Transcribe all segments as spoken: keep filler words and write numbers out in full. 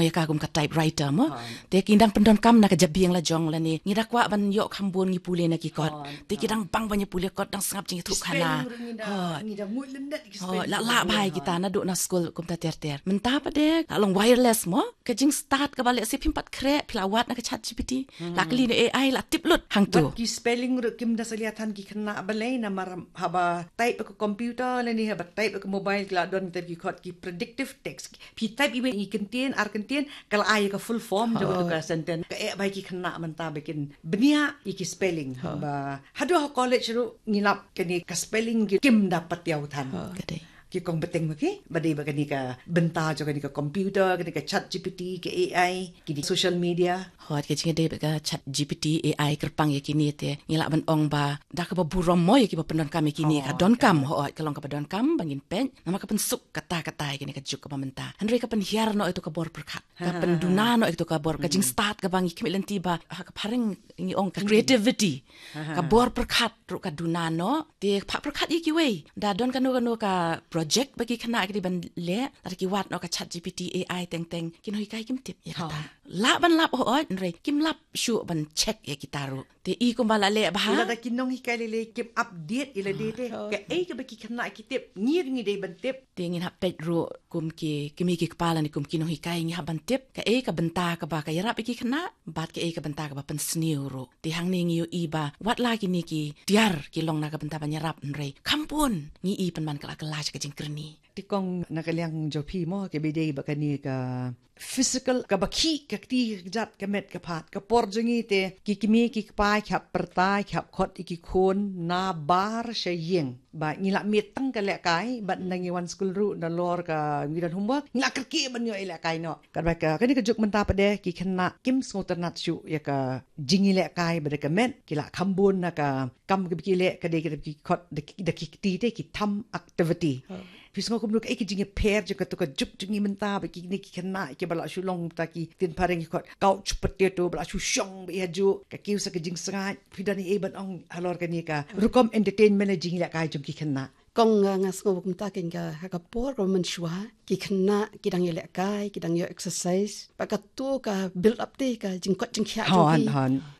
ïa ka kum ka typewriter mo. Te ki dang pyndonkam na ka jabieng la jong lane ngi da kwah ban ïoh kham bun ngi pule na ki kot. Te ki dang bang ban ïa pule kot, dang sngap jingïathuh khana. Ngi da mut lyndet ki spelling, la la bha ïa kita naduh na skul kumta ter ter. Mynta pat de la long wireless mo. Ka jingstad kaba leh se phim pat khreh, phi la wad na ka Chat G P T. La kylli na A I, la tip lut hangto. Ki spelling ruh kim da salia than ki khynnah balei, namar haba type ka computer lane haba type ka mobile, ki la don te ki khot ki predictive text. Phi type iwei i kyntien, ar kyntien, ka la ai ka full form jong ka sentence. Ka eh ba ki khynnah mynta ba kin bniah ïa ki spelling. Ba haduh ha college ruh ngi lap kane ka spelling ki kim da patiaw than. Ki kong bteng ma ki, ba dei ba kane ka bynta jong kane ka computer, kane ka Chat G P T, ka A I, ki dei social media. Hot, ka jingdei ba ka Chat G P T, A I, kyrpang ïa kine te ngi lah ban ong ba da kaba burom mo ïa kiba pyndonkam ïa kine, ka donkam, hot, ka long kaba donkam ba ngin peit. Namar ka pynsuk katta katta ïa kine ka juk kaba mynta. Hynrei ka pynhiar noh ïa tu ka bor pyrkhat, ka pynduna noh ïa tu ka bor, ka jingstad kaba ngi khmih lynti ba ha ka phareng ngi ong ka creativity. Ka bor pyrkhat ruh ka duna noh. Te phah pyrkhat ïa kiwei, da don kano kano ka project ba ki khynnah ki dei ban leh, lada ki wad noh ka Chat G P T, A I, teng teng, ki nonghikai kim tip ïa kata. Lah ban lap, hooid, hynrei kim lap shuh ban check ïa kita ruh. Te i kumba la leh bha, lada ki nonghikai lei lei kim update ïa lade te, kaei kaba ki khynnah ki tip, ngi ruh ngi dei ban tip. Te ngin hap peit ruh kum ki kmie ki kpa lane kum ki nonghikai, ngi hap ban tip kaei ka bynta kaba ka ïarap ïa ki khynnah bad kaei ka bynta kaba pynsniew ruh. Te hangne ngi ïohi ba wat la kine ki tiar ki long na ka bynta ban ïarap, hynrei kham bun ngi i pynban ka la kylla sha ka jingkyrni. Te kong, na ka liang jong phi mo, kaba dei ba kane ka physical, kaba khih ka kti, ka kjat, ka met ka phad, ka por jong ngi te ki kmie ki kpa ki hap pyrta, ki hap khot ïa ki khun na bar sha ïing. Ba ngi lah miet tang ka lehkai, bad ynda ngi wan skul ruh, nalor ka ngi don homework, ngi lah kyrkieh ban ïoh ïalehkai noh. Katba ka, kane ka juk mynta pat de ki khynnah kim sngewtynnat shuh ïa ka jingïalehkai bad ka met, ki lah kham bun na ka kam kaba ki leh, ka dei kaba ki khot da ki, da ki kti te ki thumb activity. Phi sngew kumno, kaei ka jingïapher jong kato ka juk jong ngi mynta, ba kine ki khynnah kiba lah shu long ta ki ktien phareng ki khot couch potato, ba lah shu shong beit hajuh, ka kiew sa ka jingsngaid. Phi don ei ban ong halor kane ka rukom entertainment lane jingïalehkai jong ki khynnah? Kong, nga, nga sngew kumta, kane ka, ha ka por kaba mynshuwa ki khynnah ki dang ïalehkai, ki dang ïoh exercise, bad kato ka build up te ka jingkoit jingkhiah jong ki.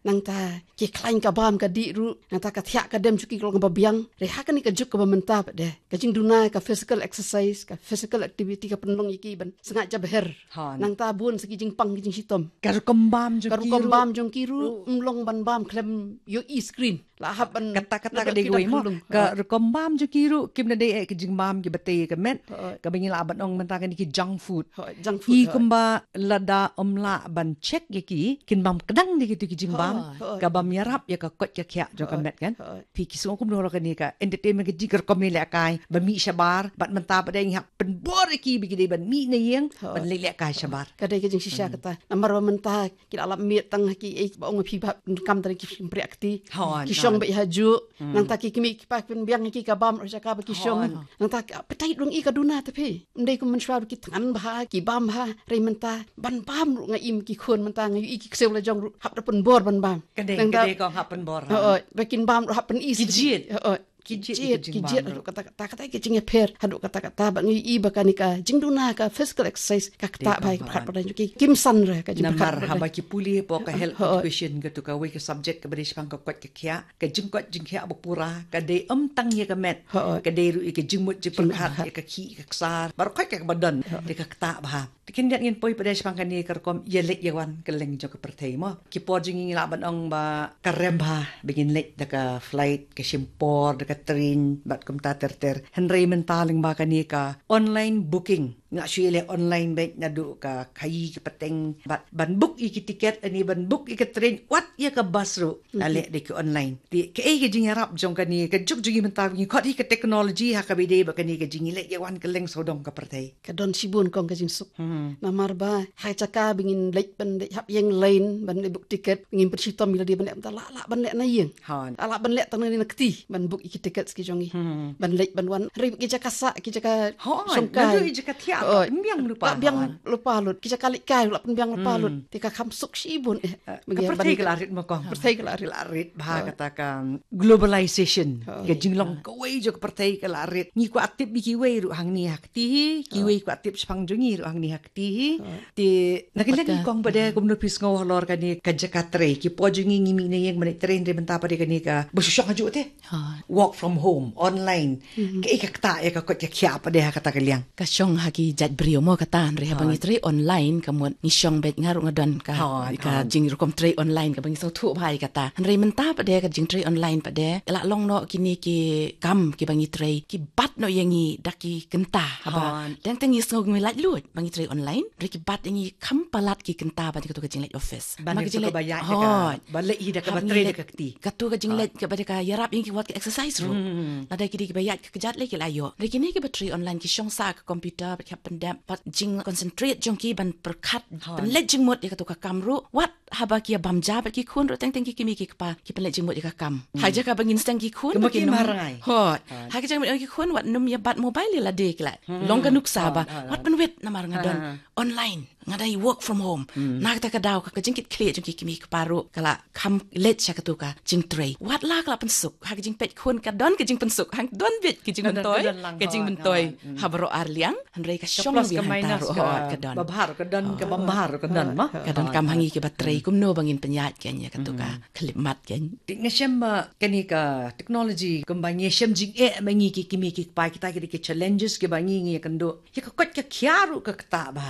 Nangta ki khlaiñ ka bam ka dih ruh, nangta ka thiah ka dem jong ki ka long kaba biang. Hynrei ha kane ka juk kaba mynta pat de, ka jingduna ka physical exercise, ka physical activity ka pynlong ïa ki ban sngaid jabher. Nangta bun sa ki jingpang ki jingshitom. Ka rukom bam jong ki ruh, ruh ym long ban bam khlem ïohi screen. Lah hap ban kata kata ka dei kawei mo. Ka rukom bam jong ki ruh kim da dei eh ka jingbam kiba tei ka met. Kaba ngi lah ban ong mynta kane ki junk food. Junk food. I kumba lada ym lah ban check ïa ki, kin bam kdang de kito ki jingbam. Ka bam ïarap ïa ka koit ka khiah jong ka met kan. Phi ki sngew kumno halor kane ka entertainment, ka jingkyrkhu ïalehkai, ba mih shabar, bad mynta pat de ngi hap pynbor ïa ki ba ki dei ban mih na ïing ban leit lehkai shabar. Ka dei ka jingshisha kata. Namar ba mynta ki la lap miet tang ha kiei ba ong phi ba kam tang ki shympriah kti. Ki shong beit hajuh. Nangta ki kmie ki kpa pynbiang ïa ki ka bam ruh sha kaba ki shong. Nangta ka appetite ruh ngi ka duna te phi. Ym dei kum mynshuwa ruh ki thngan bha, ki bam bha, hynrei mynta ban bam ruh nga im ki khun mynta nga ïohi ki ksiew la jong ruh hap da pynbor ban bam. Ka dei, ka dei kong, hap pynbor. Hooid, ba kin bam ruh hap pyni. Ki jied. Hooid. Ki jied, ki jied haduh katta katta, katta ka jingïapher haduh katta katta, ba ngi i ba kane ka jingduna ka physical exercise ka ktah bha ïa ka pyrkhat pyrthei jong ki, kim san re ka jingpyrkhat. Namar haba ki pule hapoh ka health education, kato kawei ka subject kaba dei shaphang ka koit ka khiah, ka jingkoit jingkhiah ba pura, ka dei ym tang ïa ka met, ka dei ruh ïa ka jingmut jingpyrkhat, ïa ka khih ka ksar, baroh khoit kaba don, te ka ktah bha. Te khyndiat ngin poi pat de shaphang kane ka rukom ïaleit ïawan kylleng jong ka pyrthei mo. Ki por jong ngi ngi lah ban ong ba ka rem bha ba ngin leit da ka flight, ka shim por da ka train bad kumta ter ter. Hynrei mynta lyngba kane ka online booking, ngi lah shu ïaleh online beit naduh ka khaïi ka pateng, bad ban book ïa ki tiket, ani ban book ïa ka train, wat ïa ka bus ruh la leh da ki online. Te kaei ka jingïarap jong kane ka juk jong ngi mynta, ngi khot hi ka technology ha kaba ïadei bad kane ka jingïaleit ïawan kylleng sawdong ka pyrthei? Ka don shibun kong ka jingsuk. Namar ba ha jaka ba ngin leit ban leit hap ïeng line ban leit book tiket, ngin pynshitom ïa lade ban leh mynta, lah lah ban leh na ïing. Lah lah ban leh tang na kti ban book ïa ki tiket ki jong ngi. Ban leit ban wan, hynrei ki jaka sah, ki jaka shongkai, naduh ïa jaka thiah. Ah, ka pynbiang lypa, ka biang lypa lut. Ki jaka leit kai la pynbiang lypa lut. Te ka kham suk shibun. Ka pyrthei ka la rit ma kong. Pyrthei ka la rit. La rit bha kata ka globalization. Ka jinglong kawei jong ka pyrthei ka la rit. Ngi kwah tip ïa kiwei ruh hangne ha kti hi. Kiwei kwah tip shaphang jong ngi ruh hangne ha kti hi. Te na ka liang kong pat de kumno phi sngew halor kane ka jaka trei. Ki por jong ngi ngi mih na ïing ban trei, hynrei mynta pat de kane kaba shu shong hajuh te. Work from home, online. Kaei ka ktah ïa ka koit ka khiah pat de ha kata ka liang? Ka shong ha ki jait briew mo kata, hynrei haba ngi trei online ka mut ngi shong beit, nga ruh nga don ka jingrukom trei online kaba ngi sngewthuh bha ïa kata. Hynrei mynta pat de ka jingtrei online pat de la long noh kine ki kam kiba ngi trei ki bat noh ïa ngi da ki kynta haba dang teng ngi sngew ngi lait luid ba ngi trei online, hynrei ki bat ïa ngi kham palat ki kynta ba ngi katu ka jingleit office. Ba ngi katu ka ba ïaid ka ba leh hi da kaba trei da ka kti. Katu ka jingleit kaba da ka ïarap ïa ngi ki wat ka exercise ruh. Lada ki dei kiba ïaid ka kjat lei ki la ïoh. Hynrei kine kiba trei online ki shong sah ka computer bad ki hap pyndep bad jing concentrate jong ki ban pyrkhat pynleit jingmut ïa katu ka kam ruh. Wat haba ki ïa bam ja bad ki khun ruh teng teng ki kmie ki kpa ki pynleit jingmut ïa ka kam. Ha jaka ba ngin sdang ki khun ba ki num. Hot. Ha ka jaka ba ki khun wat num ïa bat mobile ïa lade ki la long ka nuksa ba wat pynwit namar nga don online. Nga dei work from home. Na kata ka daw ka jingkit khlieh jong ki kmie ki kpa ruh ka la kham leit sha katu ka jingtrei. Wat la ka la pynsuk ha ka jingpeit khun ka don ka jingpynsuk, hang don beit ka jingmyntoi, ka jingmyntoi ha baroh ar liang. Hynrei ka shong beit hangta ruh ka don. Ba bha ruh ka don, ka bym bha ruh ka don ma. Ka don kam ha ngi kiba trei kumno ba ngin pynïaid kein ïa katu ka khyllipmat kein. Te nga shem ba kane ka technology kumba ngi shem jingeh ma ngi ki kmie ki kpa, kita ki dei ki challenges kiba ngi ngi ïakynduh. Ïa ka koit ka khiah ruh ka ktah bha.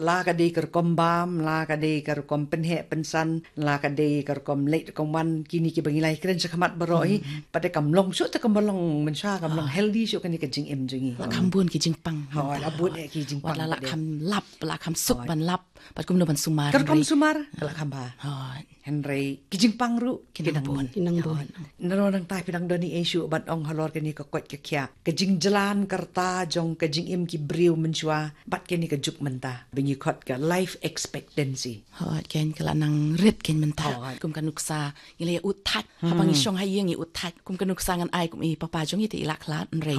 La ka dei ka rukom bam, la ka dei ka rukom pynheh pynsan, la ka dei ka rukom leit rukom wan, kine kiba ngi la ïakren shakhmat baroh hi. Pat de kam long shuh te kam long mynshuwa, kam long healthy shuh kane ka jingim jong ngi. La kham bun ki jingpang. Hooid, la bun eh ki jingpang. Wat la la kham lap, la kham suk ban lap. Pat kumno ban sumar. Ka rukom sumar ka la kham bha. Hooid. Hynrei ki jingpang ruh ki nang bun. Ki nang bun. Nano nangta phi dang don ei ei shuh ban ong halor kane ka koit ka khiah, ka jingjlan ka rta jong ka jingim ki briew mynshuwa bad kane ka juk mynta ba ngi khot ka life expectancy? Hooid, kein ka la nang rit kein mynta. Kum ka nuksa ngi la ïa ud thait haba ngi shong ha ïing, ngi ud thait. Kum ka nuksa ngan ai kum i papa jong i te i la khlad, hynrei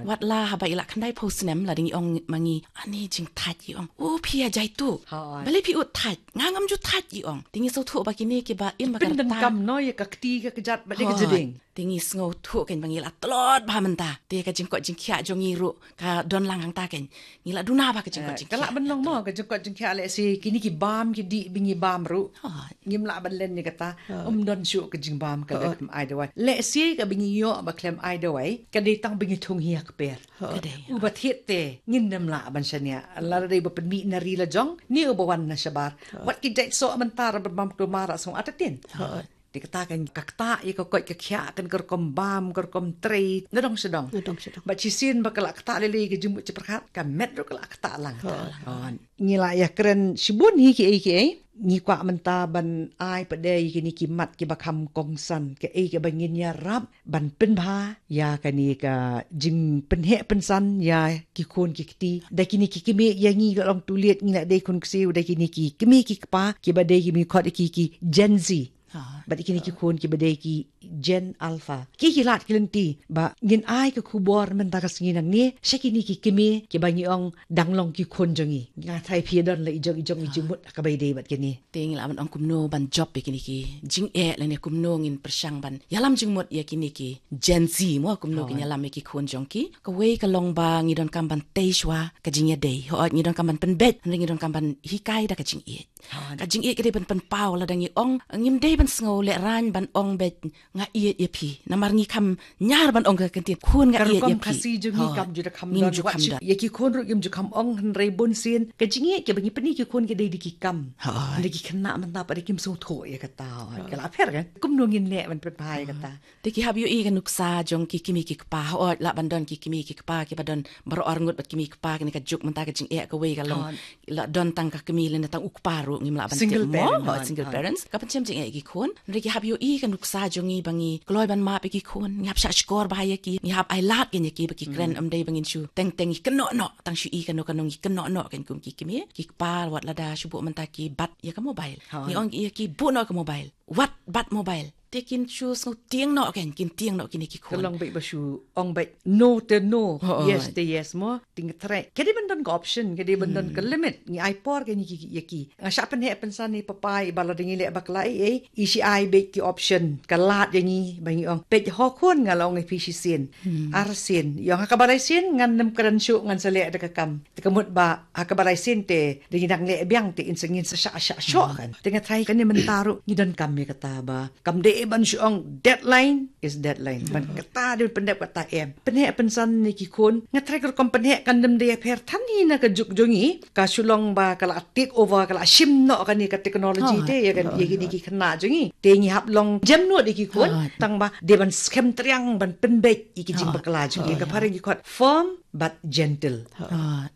wat la haba i la khyndai phew snem la dang i ong ma ngi, ani jingthait, i ong. O phi ïa jaitu. Balei phi ud thait? Nga ngam ju thait, i ong. Te ngi sngewthuh ba kine kiba im ba ka rta. Pyndonkam noh ïa ka kti ka kjat bad ka jingdeng. Te ngi sngewthuh kein ba ngi la tlot bha mynta. Te ka jingkoit jingkhiah jong ngi ruh ka don lang hangta kein. Ngi la duna bha ka jingkoit jingkhiah. Ka lah ban long mo ka jingkoit jingkhiah, lehse kine ki bam ki dih ba ngi bam ruh. Ngim lah ban len ïa kata. Ym don shuh ka jingbam ka dei khlem ai dawai. Lehse kaba ngi ïoh ba khlem ai dawai ka dei tang ba ngi thung hi ha kper. Ka dei. Uba thied te ngin nym lah ban shaniah. Lada dei ba pynmih na ri la jong ne uba wan na shabar. Wat ki jait soh mynta ruh ban bam kulmar ruh sngewthuh artatien. Te kata kein ka ktah ïa ka koit ka khiah kein, ka rukom bam, ka rukom trei nadong shadong. Nadong shadong. Bad shisien ba ka la ktah lei lei ka jingmut jingpyrkhat, ka met ruh ka la ktah lang. Ngi la ïakren shibun hi kiei kiei. Ngi kwah mynta ban ai pat de ïa kine ki mat kiba kham kongsan, kaei kaba ngin ïarap ban pynbha ïa kane ka jingpynheh pynsan ïa ki khun ki kti. Da kine ki kmie ïa ngi la long tuliet, ngi la dei khun ksiew, da kine ki kmie ki kpa kiba dei ki, ngi khot ïa ki ki Gen Z. Bad kine ki khun kiba dei ki Gen Alpha. Ki ki lad ki lynti ba ngin ai ka khubor mynta ka sngi nangne sha kine ki kmie kiba ngi ong dang long ki khun jong ngi. Nga tharai phi don la i jong i jong i jingmut kaba ïadei bad kine. Te ngi lah ban ong kumno ban jop ïa kine ki jingeh lane kumno ngin pyrshang ban ïalam jingmut ïa kine ki Gen Z mo, kumno kin ïalam ïa ki khun jong ki. Kawei ka long ba ngi donkam ban tei shuwa ka jingïadei. Hooid, ngi donkam ban pynbeit, hynrei ngi donkam ban hikai da ka jingïeit. Ka jingïeit ka dei ban pynpaw, lada ngi ong ngim dei ban sngew lehraiñ ban ong beit nga ïeit ïa phi. Namar ngi kham ñiar ban ong ka ktien khun nga ïeit ïa phi. Ka rukom Khasi jong ngi kam ju da kham don. Ïa ki khun ruh kim ju kham ong, hynrei bun sien ka jingïeit kaba ngi pyni ki khun ka dei da ki kam. Hynrei ki khynnah mynta pat de kim sngewthuh ïa kata. Ka la pher kein? Kumno ngin leh ban pynpaw ïa kata? Te ki hap ïohi ka nuksa jong ki kmie ki kpa. Hooid, lah ban don ki kmie ki kpa kiba don baroh arngut bad kmie kpa, kane ka juk mynta ka jingeh kawei ka long. La don tang ka kmie lane tang u kpa ruh ngim lah ban tip mo. Single parents. Ka pynshem jingeh ïa ki khun. Hynrei ki hap ïohi ka nuksa jong ngi ba ngi kloi ban map ïa ki khun. Ngi hap shah shkor bha ïa ki. Ngi hap ai lad kein ïa ki ba ki kren, ym dei ba ngin shu teng teng ngi kynnoh noh. Tang shu i kano kano ngi kynnoh noh kein kum ki kmie ki kpa. Wat lada shu buh mynta ki bat ïa ka mobile. Ngi ong ïa ki buh noh ka mobile. Wat bat mobile. te kin shu sngewtieng noh, kan kin tieng noh kine ki khun. Ka long beit ba shu ong beit no te no, oh, yes te yes mo, te nga trai. Ka dei ban don ka option, ka dei ban don ka limit. Ngi ai por ka ngi ki, ïa ki. Nga shah pynheh pynsan ïa i papa, i ba la dang ïaleh bakla ei ei, i shu ai beit ki option. Ka lad ïa ngi ba ngi ong, peit ho khun, nga la ong ïa phi shisien. Arsien. Ïa nga, ha kaba lai sien ngan nym kren shuh, ngan sa leh da ka kam. Te ka mut ba ha kaba lai sien te, da ngi dang leh biang te, in sa ngin sa shah shah shoh kan. Te nga trai kane mynta ruh ngi donkam ïa kata ba kam dei ban shu ong deadline is deadline. Ban kata dei pyndep kata em. Pynheh pynsan ïa ki khun. Nga trai ka rukom pynheh kan nym dei ïapher than hi na ka juk jong ngi. Ka shu long ba ka la take over, ka la shim noh kane ka technology te ïa kane, ïa kine ki khynnah jong ngi. Te ngi hap long jem nud ïa ki khun. Tang ba dei ban skhem triang ban pynbeit ïa ki jingbakla jong ngi. Ka phareng ki khot firm but gentle.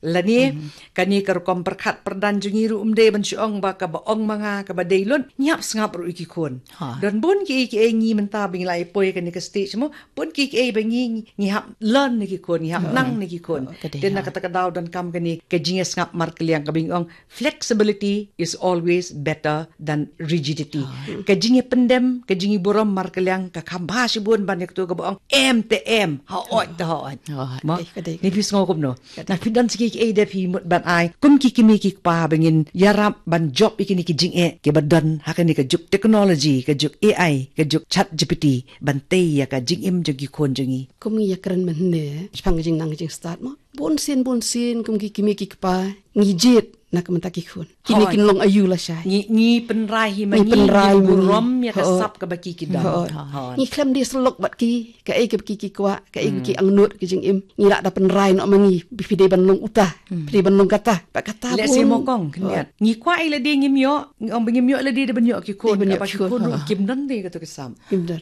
Lane kane ka rukom pyrkhat pyrdan jong ngi ruh ym dei ban shu ong ba kaba ong ma nga kaba dei lut. Ngi hap sngap ruh ïa ki khun. Don bun kiei kiei ngi mynta ba ngi la ïa poi kane ka stage mo. Bun kiei kiei ba ngi, ngi hap learn na ki khun, ngi hap nang na ki khun. Te na kata ka daw donkam kane ka jingïasngap markylliang, kaba ngi ong flexibility is always better than rigidity. Ka jingïapyndem, ka jingïaburom markylliang ka kham bha shibun ban ïa katu kaba ong em te em, haoid te haoid. Mo? Ni phi sngew kumno? Na phi don sa kiei kiei de phi mut ban ai kum ki kmie ki kpa ba ngin ïarap ban jop ïa kine ki jingeh kiba don ha kane ka juk technology, ka juk A I, ka juk Chat G P T, ban tei ïa ka jingim jong ki khun jong ngi. Kum ngi ïakren mynne shaphang ka jingnang ka jingstad mo. Bun sien bun sien kum ki kmie ki kpa ngi jied na ka bynta ki khun. Kine kin long aïu lashai. Ngi, ngi pynrai hi ma ngi, ngi burom ïa ka sap kaba ki ki don. Ngi khlem die sylluk bad ki, kaei kaba ki ki kwah, kaei kaba ki angnud ka jingim. Ngi lah da pynrai noh ma ngi, phi dei ban long uta, phi dei ban long kata. Bad kata bun. Ngi kwah ïa lade ngim ïoh, ngi ong ba ngim ïoh lade da ban ïoh ki khun, kaba ki khun ruh kim don de kato ka sap. Kim don.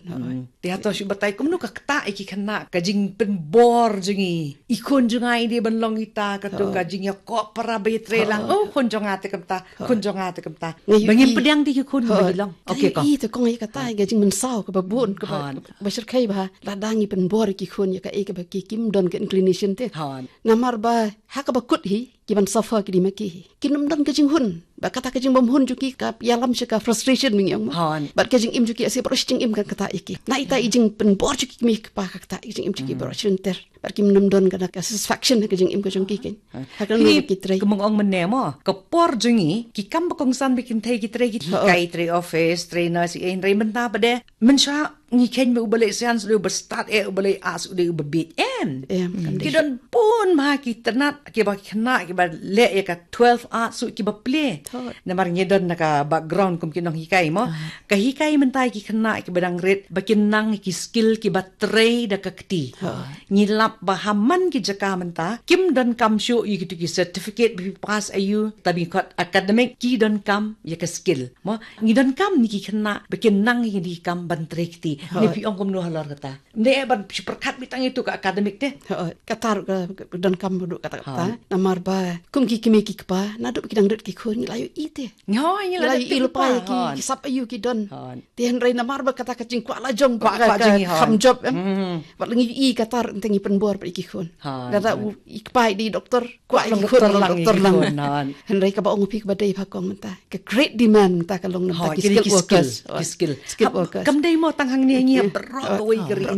Te hato shu batai kumno ka ktah ïa ki khynnah, ka jingpynbor jong ngi. I khun jong nga i dei ban long ita, kato ka jingïakop para ba ïatrei lang. Oh, khun jong nga te kumta, khun jong nga te kumta. Ba ngim pdiang de ki khun ba ngi long. Okay, kong. Ïa kata ka jingmynsaw kaba bun, kaba shyrkhei ba lada ngi pynbor ïa ki khun ïa kaei kaba ki kim don ka inclination te. Namar ba ha kaba kut hi, ki ban suffer ki dei ma ki hi. Kin ym don ka jinghun. Bad kata ka jingbymhun jong ki ka ïalam sha ka frustration, ngi ong. Bad ka jingim jong ki, ase baroh shi jingim kan ktah ïa ki. Na ita i jingpynbor jong ki kmie ki kpa ka ktah ïa ka jingim jong ki baroh shi lynter. Bad kim nym don ka satisfaction ha ka jingim ka jong ki kan. Ha ka ngi ki trei. Kumba nga ong mynne mo, ka por jong ngi, ki kam ba kongsan ba kin trei, ki trei, ki hikai, trei office, trei nurse, eh, trei mynta ba de. Mynshuwa ngi kheiñ ba uba leh science u dei uba stad, eh, uba leh arts u dei uba bieit. Em. Ki don bun bha ki tnat, kiba khynnah, kiba leh ïa ka twelve arts ruh kiba plie. Namar ngi don na ka background kum ki nonghikai mo. Ka hikai mynta ïa ki khynnah kiba dang rit ba kin nang ïa ki skill kiba trei da ka kti. Ngi lap ba ha man ki jaka mynta kim donkam shuh ïa kitu ki certificate ba phi pass aïu, tang ba ngi khot academic, ki donkam ïa ka skill. Mo, ngi donkam ïa ki khynnah ba kin nang ïa ki kam ban trei kti. Ne phi ong kumno halor kata? Ym dei ban shu pyrkhat beit tang ïa tu ka academic te. Kata ruh ka donkam ruh kata kata. Namar ba kum ki kmie ki kpa, naduh ba ki dang rit ki khun ngi la ïohi te. Ngi la ïohi lypa ïa ki, ki sap aïu ki don. Te hynrei namar ba kata ka jingkwah la jong, kwah ka jong, kham jop em. Bad la ngi ïohi kata ruh te ngi pynbor bad ïa ki khun. Lada u i kpa i dei doktor, kwah ïa ki khun long doktor lang. Hynrei kaba ong phi kaba dei bha kong mynta, ka great demand mynta ka long mynta ki skilled workers. Ki skill. Skilled workers. Kam dei mo tang hangne, ngi ïa baroh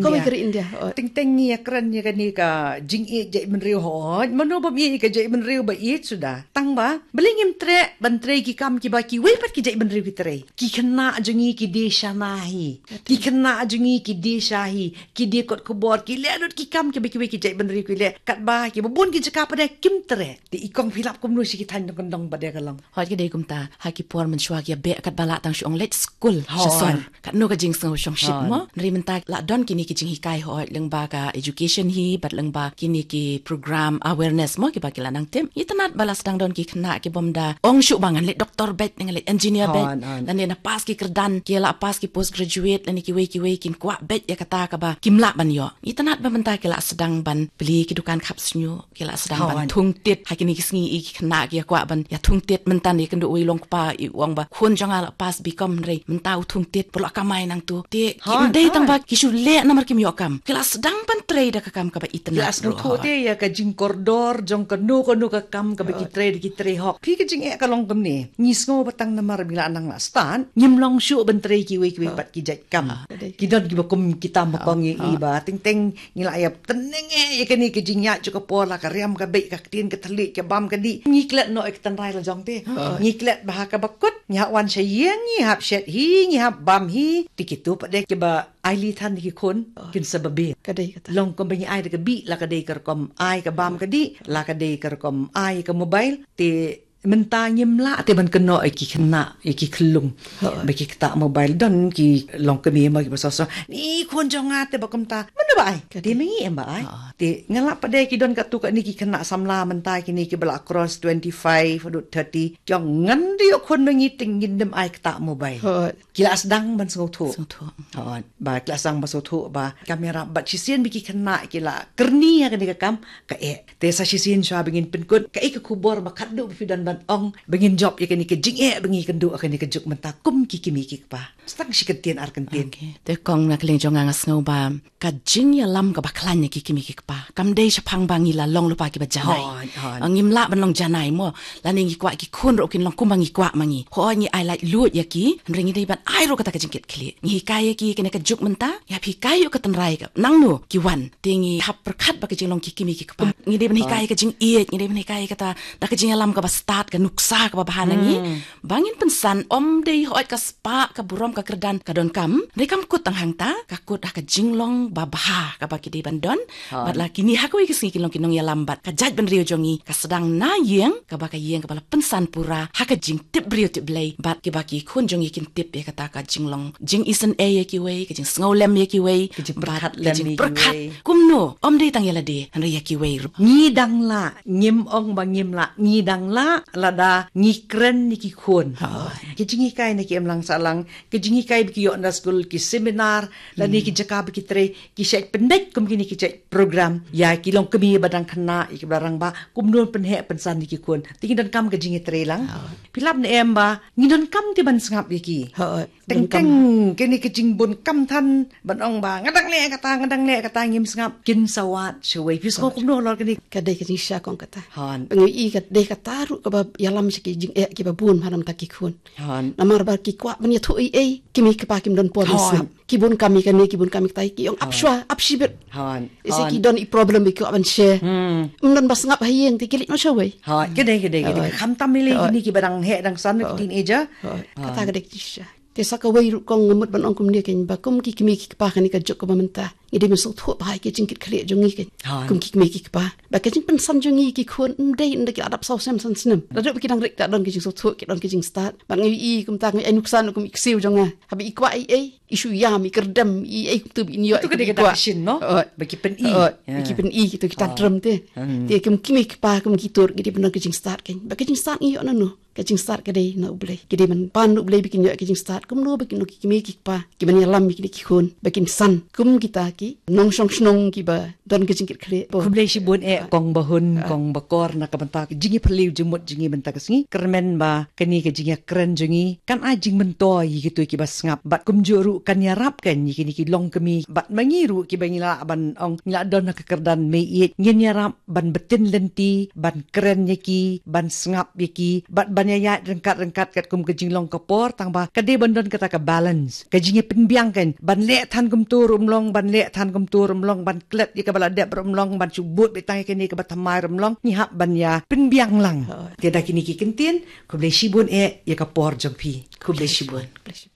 kawei ka ri India. Teng teng ngi ïa kren ïa kane ka jingïeit jaitbynriew, hooid. Mano bym ïeit ïa ka jaitbynriew ba ïeit suda. Tang ba balei ngim treh ban trei ki kam kiba kiwei pat ki jaitbynriew ki trei. Ki khynnah jong ngi ki die shana hi. Ki khynnah jong ngi ki die sha hi. Ki die kot khubor, ki leh lut ki kam kiba kiwei ki jaitbynriew ki leh. Katba kiba bun ki jaka pat de kim treh. Te i kong phi lap kumno sha ki thaiñ dong kyndong pat de ka long? Hooid, ka dei kumta, ha ki por mynshuwa ki ïa beh katba lah tang shu ong leit skul sha sor. Katno ka jingsngew shongshit mo. Hynrei mynta lah don kine ki jinghikai, hooid, lyngba ka education hi bad lyngba kine ki program awareness mo kiba ki la nang tip. Itynnad ba la sdang don ki khynnah kibym da ong shuh ba ngan leit doktor beit, ngan leit engineer beit. Lane na pass ki kyrdan, ki la pass ki postgraduate lane kiwei kiwei, kin kwah beit ïa kata kaba kim lah ban ïoh. Itynnad ba mynta ki la sdang ban plie ki dukan khap shñiuh, ki la sdang ban thung tit. Ha kine ki sngi i ki khynnah ki ïa kwah ban ïa thung tit, mynta ïa kynduh uwei u long kpa, i ong ba khun jong nga la pass B Com hynrei mynta u thung tit, u la kamai nangtu. Te Ki Hoi, dei tang hoi. ba ki shu leh namar kim ïoh kam. Ki la sdang ban trei da ka kam kaba itynnad. Ki la sdang ruh, hoi. Te ïa ka jingkordor jong kano kano ka kam kaba ki Hoi. trei da ki trei hok. Phi ka jingeh ka long kumne. Ngi sngew ba tang namar ba ngi la nang la stad, ngim long shuh ban trei kiwei kiwei Hoi. pat ki jait kam. Ah, ka dei. Ki don kiba kum kita ma Ah, kong ïa i ah. ba teng teng ngi la ïa tneng eh ïa kane ka jingïaid jong ka por, la ka riam ka beit, ka ktien ka thylliej, ka bam ka dih. Ngi klet noh ïa ka tynrai la jong te. Hooid. Ngi klet ba ha kaba kut ngi hap wan sha ïing, ngi hap shet hi, ngi hap bam hi. Te kito pat de kiba ai lei than ïa ki khun, Hooid. kin sa babe. Ka dei kata. Long kumba ngi ai da ka bih, la ka dei ka rukom ai ka bam ka dih, la ka dei ka rukom ai ka mobile. Te mynta ngim lah te ban kynnoh ïa ki khynnah, ïa ki khyllung. Hooid. Ba ki ktah mobile, don ki longkmie mo kiba sosor. Ni khun jong nga te ba kumta. Mano ba ai? Ka Te dei. ma ngi em ba ai. Hooid. Te nga lah pat de ki don katto katne ki khynnah samla mynta kine kiba la cross twenty-five haduh thirty. Ki ong ngan da ïoh khun ma ngi te ngin ym ai ktah mobile. Hooid. Ki la sdang ban sngewthuh. Sngewthuh. Hooid. Ba ki la sdang ban sngewthuh ba kam ïarap, bad shisien ba ki khynnah ki la kyrni ha kane ka kam, ka eh. Te sa shisien shuwa ba ngin pynkut, kaei ka khubor ba khatduh ba phi don ban ong ba ngin jop ïa kane ka jingeh ba ngi kynduh ha kane ka juk mynta kum ki kmie ki kpa? Sa tang shi kyntien ar kyntien. Okey. Te kong, na ka liang jong nga, nga sngew ba ka jingïalam kaba khlaiñ ïa ki kmie ki kpa kam dei shaphang ba ngi la long lypa kiba janai. Hooid, hooid. Ah, ngim lah ban long janai mo. Lane ngi kwah ki khun ruh kin long kumba ngi kwah ma ngi. Hooid, ngi ai laitluid ïa ki, hynrei ngi dei ban ai ruh kata ka jingkitkhlieh. Ngi hikai ïa ki kane ka juk mynta, ngi hap hikai ïa ka tynrai ka nangno ki wan. Te ngi hap pyrkhat ba ka jinglong ki kmie ki kpa, ngi dei ban hikai ïa ka jingïeit, ngi dei ban hikai ïa kata, da ka jingïalam kaba stad, ka nuksa kaba bha na ngi. Hmm. Ba ngin pynsan, ym dei hooid ka spah, ka burom, ka kyrdan ka donkam. Hynrei kam kut tang hangta, ka kut ha ka jinglong ba bha kaba ki dei ban don. Hooid. Bad la kine ha kawei ka sngi kin long ki nongïalam, bad ka jaitbynriew jong ngi ka sdang na ïing, kaba ka ïing kaba la pynsan pura ha ka jingtip briew tip Blei, bad kiba ki khun jong ngi kin tip ïa kata ka jinglong jingisynei ïa kiwei, ka jingsngewlem ïa kiwei, Ka jingpyrkhat bad ka lem ïa jingpyrkhat kiwei. Kumno, ym dei tang ïa lade, hynrei ïa kiwei ruh. Ngi dang lah, ngim ong ba ngim lah, ngi dang lah lada ngi kren ïa ki khun. Hooid. Ki jinghikai na ki imlang sahlang, ki jinghikai ba ki ïoh na skul, ki seminar, lane Hmm. ki jaka ba ki trei, ki shait pyndait kum kine ki shait program ïa ki longkmie ba dang khynnah, ïa kiba rangbah, kumno pynheh pynsan ïa ki khun. Te ngi donkam ka jingïatreilang. Hooid. Phi lap ne em ba ngi donkam te ban sngap ïa ki. Hooid. Teng teng kine ki jingbun kam than ban ong ba nga dang leh kata, nga dang leh kata, ngim sngap, kin sa wad shawei. Phi sngew Hooid. kumno halor kane? Ka dei ka jingshisha kong kata. Hooid. Ba ngi i ka dei kata ruh kaba ïalam sha ki jingeh kiba bun ha namar ki khun. Hooid. Namar ba ki kwah ban ïathuh ei ei, ki mei ki pa kim don por ban Hooid. sngap. Ki bun kam ïa kane, ki bun kam ïa kata, ki ong ap Hooid. shwa, ap shibit. Hooid. Ise ki Hooid. don i problem ba ki kwah ban share. Hmm. Ym don ba sngap ha ïing te ki leit noh shawei. Hooid, ka dei, ka dei, ka dei. Hooid. Khamtam ïa lei Hooid. kine kiba dang heh dang san, ki Hooid. teenager. Hooid. Kata Hooid. ka dei ka jingshisha. Te sa kawei ruh kong, nga mut ban ong kumne kein ba kum ki kmie ki kpa kane ka juk kaba mynta, ngi dei ban sngewthuh bha ïa ki jingkitkhlieh jong ngi kein. Hooid. Kum ki kmie ki kpa. Ba ka jingpynsan jong ngi ki khun ym dei ynda ki la dap saw snem san snem. Lada ba ki dang rit, ki la don ki jingsngewthuh, ki don ki jingstad. Bad nga i kumta, nga i nuksan kum i ksiew jong nga. Haba i kwah ei ei, i shu ïam, i kyrdem, i ei kumta ba in ïoh. Ito ka dei ka dak shin, no? Hooid. Ba ki pyni. Hooid. Ba ki pyni, kito ki tantrum te. Hmm. Te kum ki kmie ki kpa, kum ki tur, ki dei ban don ki jingstad kein. Ba ki jingstad ngi ïoh nano? Ka jingstad ka dei na U Blei. Ki dei ban pan na U Blei ba kin ïoh ka jingstad. Kumno ba kin, ki kmie ki kpa, ki ban ïalam ïa kine ki khun ba kin san kum kita ki nongshong shnong kiba don ka jingkitkhlieh. Khublei shibun eh kong Bahun, kong Bakor, na ka bynta ka jingïaphylliew jingmut jong ngi mynta ka sngi. Kyrmen ba kane ka jingïakren jong ngi kan ai jingmyntoi ïa kito kiba sngap, bad kumjuh ruh kan ïarap kein ïa kine ki longkmie bad ma ngi ruh kiba ngi lah ban ong ngi lah don ha ka kyrdan mei ïeit, ngin ïarap ban btin lynti, ban kren ïa ki, ban sngap ïa ki, bad ban ïaid ryngkat ryngkat katkum ka jinglong ka por, tang ba ka dei ban don kata ka balance. Ka jingïapynbiang kein, ban leh than kumto ruh ym long, ban leh than kumto ruh ym long, ban klet ïa kaba la dep ruh ym long, ban shu bud beit tang ïa kane kaba thymmai ruh ym long, ngi hap ban ïapynbiang lang. Hooid. Te da kine ki kyntien, khublei shibun eh ïa ka por jong phi. Khublei shibun. Khublei shibun.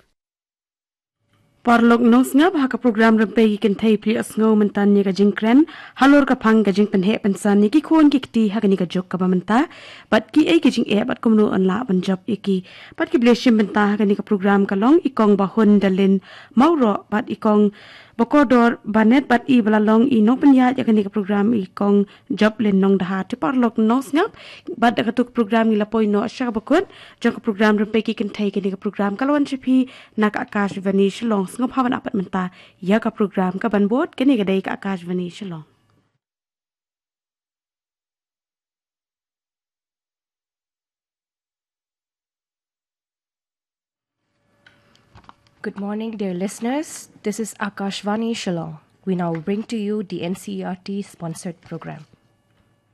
Paralok nongsngap, ha ka program Rympei ki Kynthei phi ïohsngew mynta ïa ka jingkren halor ka phang ka jingpynheh pynsan ïa ki khun ki kti ha kane ka juk kaba mynta, bad kiei ki jingeh bad kumno yn lah ban jop ïa ki. Bad kiba la shim bynta ha kane ka program ka long i kong Bahun Dalin Mawroh bad i kong Bakordor Banet, bad iba la long i nongpynïaid ïa kane ka program i kong Joplin Nongdhar. Te paralok nongsngap, bad da kato ka program ngi la poi noh sha kaba kut jong ka program Rympei ki Kynthei. Kane ka program ka la wan sha phi na ka Akashvani Shillong. Sngewbha ban ap pat mynta ïa ka program kaban bud. Kane ka dei ka Akashvani Shillong. Good morning, dear listeners. This is Akashvani Shillong. We now bring to you the N C E R T sponsored program.